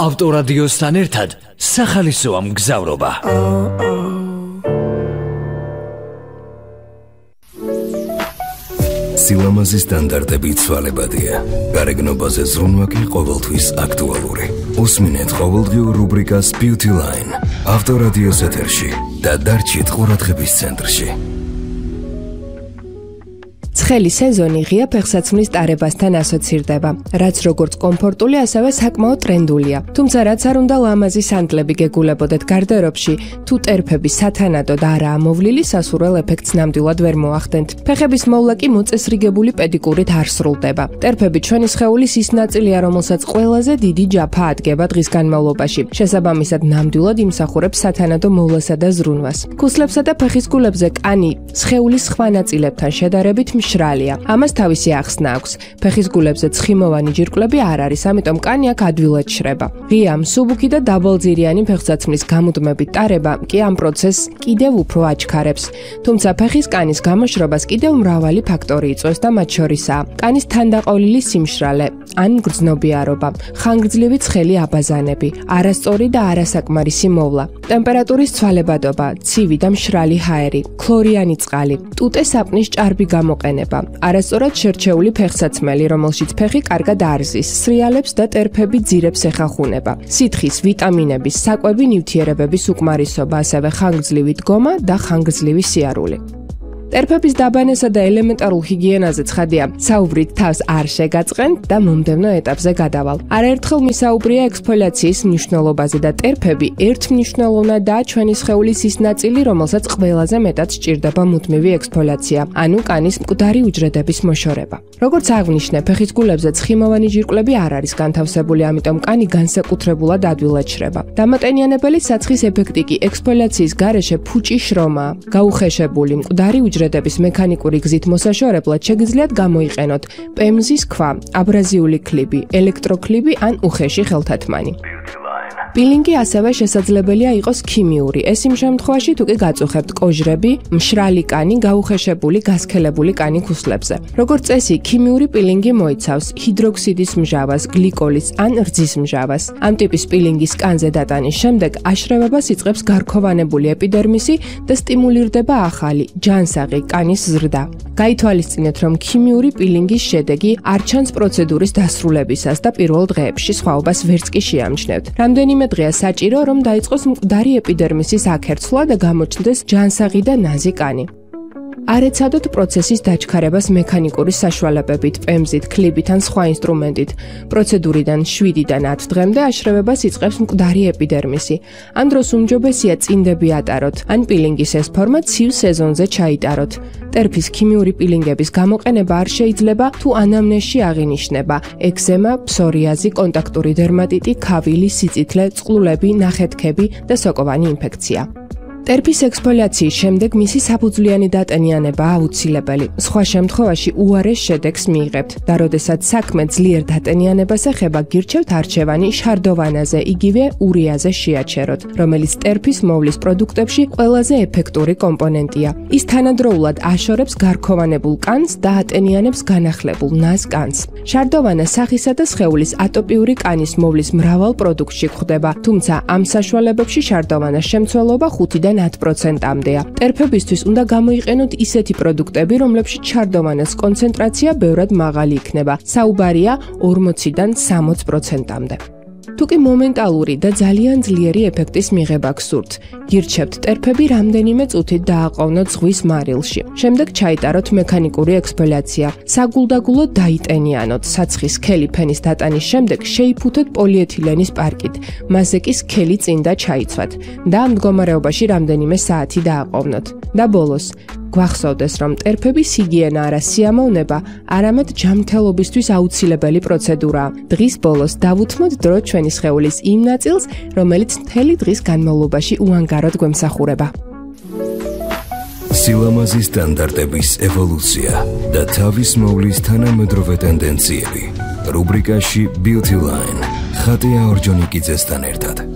ავტორადიოსთან ერთად სახალისოა მგზავრობა. სილამაზის სტანდარტები ცვალებადია. გარეგნობაზე ზრუნვა კი ყოველთვის აქტუალური. უსმინეთ ყოველდღიურ რუბრიკას Beauty Line ავტორადიოს ეთერში და დარჩით ყურადღების ცენტრში. ცხელი სეზონი ღია ფეხსაცმლის ტარებასთან ასოცირდება, რაც როგორც კომფორტული, ასევე საკმაოდ ტრენდულია. თუმცა რაც არ უნდა ლამაზი სანტლები გეგულებოდეთ გარდერობში, თუ ტერფები სათანადო და არაა მოვლილი, სასურველ ეფექტს ნამდვილად ვერ მოახდენთ. ფეხების მოვლა კი მოწესრიგებული პედიკურით არ სრულდება. ტერფები ჩვენი სხეულის ის ნაწილია, რომელსაც ყველაზე დიდი ჯაფა ადგება დღის განმავლობაში. შესაბამისად, ნამდვილად იმსახურებს სათანადო მოვლასა და ზრუნვას. ქუსლებსა და ფეხის გულებზე კანი სხეულის სხვა ნაწილებთან შედარებით მშრალია. ამას თავისი ახსნა აქვს. ფეხის გულებზე ცხიმოვანი ჯირკვლები არ არის, ამიტომ კანი აქ ადვილად შრება. ღია, მსუბუქი და დაბალძირიანი ფეხსაცმლის გამუდმებით ტარება კი ამ პროცესს კიდევ უფრო აჩქარებს. თუმცა ფეხის კანის გამოშრობას კიდევ მრავალი ფაქტორი იწვევს და მათ შორისაა კანის თანდაყოლილი სიმშრალე, ან გრძნობიარობა, ხანგრძლივი ცხელი აბაზანები, არასწორი და არასაკმარისი მოვლა, ტემპერატურის ცვალებადობა, ცივი და მშრალი ჰაერი, ქლორიანი წყალი, ტუტე საპნის ჭარბი გამოყენება, არასწორად შერჩეული ფეხსაცმელი, რომელშიც ფეხი კარგად არზის, სრიალებს და ტერფები ძირებს ეხახუნება, სითხის, ვიტამინების, საკვები ნივთიერებების უკმარისობა, ასევე ხანგრძლივი დგომა და ხანგრძლივი სიარული. ტერფების დაბანესა და ელემენტარულ ჰიგიენაზე ცხადია, საუბრით თავს არ შეგაწყენთ და მომდევნო ეტაპზე გადავალ. არაერთხელ მისაუბრია ექსფოლიაციის მნიშვნელობაზე და ტერფები ერთმნიშვნელოვნადაა ჩვენი სხეულის ის ნაწილი, რომელსაც ყველაზე მეტად სჭირდება მუდმივი ექსფოლიაცია, ანუ კანის მკვდარი უჯრედების მოშორება. როგორც აღვნიშნე, ფეხის გულებზე ცხიმოვანი ჯირკვლები არ არის განთავსებული, ამიტომ კანი განსაკუთრებულად ადვილად შრება. დამატენიანებელი საცხის ეფექტი კი ექსფოლიაციის გარეშე ფუჭი შრომაა, გაუხეშებული მკვდარი უჯრედების მექანიკური გზით მოსაშორებლად შეგიძლიათ გამოიყენოთ პემზის ქვა, აბრაზიული ქლიბი, ელექტროქლიბი ან უხეში ხელთათმანი. პილინგი ასევე შესაძლებელია იყოს ქიმიური. ეს იმ შემთხვევაში, თუ კი გაწუხებთ კოჟრები, მშრალი კანი, გაუხეშებული, გასქელებული კანი ქუსლებზე. როგორც წესი, ქიმიური პილინგი მოიცავს ჰიდროქსიდის მჟავას, გლიკოლის ან რძის მჟავას. ამ ტიპის პილინგის კანზე დატანის შემდეგ აშრევებას იწყებს გარქოვანებული ეპიდერმისი და სტიმულირდება ახალი, ჯანსაღი კანის ზრდა. გაითვალისწინეთ, რომ ქიმიური პილინგის შედეგი არ ჩანს პროცედურის დასრულებისას და პირველ დღეებში სხვაობას ვერც კი შეამჩნევთ. რამდენიმე დღეა საჭირო, რომ დაიწყოს მკვდარი ეპიდერმისის აქერცვლა და გამოჩნდეს ჯანსაღი და ნაზი კანი. არ ეცადოთ პროცესის დაჩქარებას მექანიკური საშუალებებით, პემზით, ქლიბით ან სხვა ინსტრუმენტით. პროცედურიდან 7-დან 10 დღემდე აშრევებას იწყებს მკვდარი ეპიდერმისი. ამ დროს უმჯობესია წინდები ატაროთ, ან პილინგის ეს ფორმა ცივ სეზონზე ჩაიტაროთ. ტერფის ქიმიური პილინგების გამოყენება არ შეიძლება, თუ ანამნეზში აღინიშნება ექზემა, ფსორიაზი, კონტაქტური დერმატიტი, ქავილი, სიწითლე, წყლულები, ნახეთქები და სოკოვანი ინფექცია. ტერფის ექსფოლიაციის შემდეგ მისი საფუძვლიანი დატენიანებაა აუცილებელი. სხვა შემთხვევაში უარეს შედეგს მიიღებთ და როდესაც საქმე ძლიერ დატენიანებას ეხება, გირჩევთ არჩევანი შარდოვანაზე, იგივე ურიაზე შეაჩეროთ, რომელიც ტერფის მოვლის პროდუქტებში ყველაზე ეფექტური კომპონენტია. ის თანადროულად აშორებს გარქოვანებულ კანს და ატენიანებს განახლებულ ნაზ კანს. შარდოვანა სახისა და სხეულის ატოპიური კანის მოვლის მრავალ პროდუქტში გვხვდება, თუმცა ამ საშუალებებში შარდოვანას შემცველობა 5-დან 10%-მდეა. ტერფებისთვის უნდა გამოიყენოთ ისეთი პროდუქტები, რომლებშიც შარდოვანას კონცენტრაცია ბევრად მაღალი იქნება. საუბარია 40-დან 60%-მდე. თუკი მომენტალური და ძალიან ძლიერი ეფექტის მიღება გსურთ, გირჩევთ ტერფები რამდენიმე წუთით დააყოვნოთ ზღვის მარილში. შემდეგ ჩაიტაროთ მექანიკური ექსფოლიაცია. საგულდაგულოდ დაიტენიანოთ. საცხის სქელი ფენის დატანის შემდეგ შეიფუთოთ პოლიეთილენის პარკით. მასზე კი სქელი წინდა ჩაიცვათ და ამ მდგომარეობაში რამდენიმე საათი დააყოვნოთ. და ბოლოს გვახსოვდეს, რომ ტერფების ჰიგიენა არა სიამოვნება, არამედ ჯანმრთელობისთვის აუცილებელი პროცედურაა. დღის ბოლოს დავუთმოთ დრო ჩვენი სხეულის იმ ნაწილს, რომელიც მთელი დღის განმავლობაში უანგაროდ გვემსახურება. სილამაზის სტანდარტების ევოლუცია და თავის მოვლის თანამედროვე ტენდენციები. რუბრიკაში Beauty Line ხატია ორჯონიკიძესთან ერთად.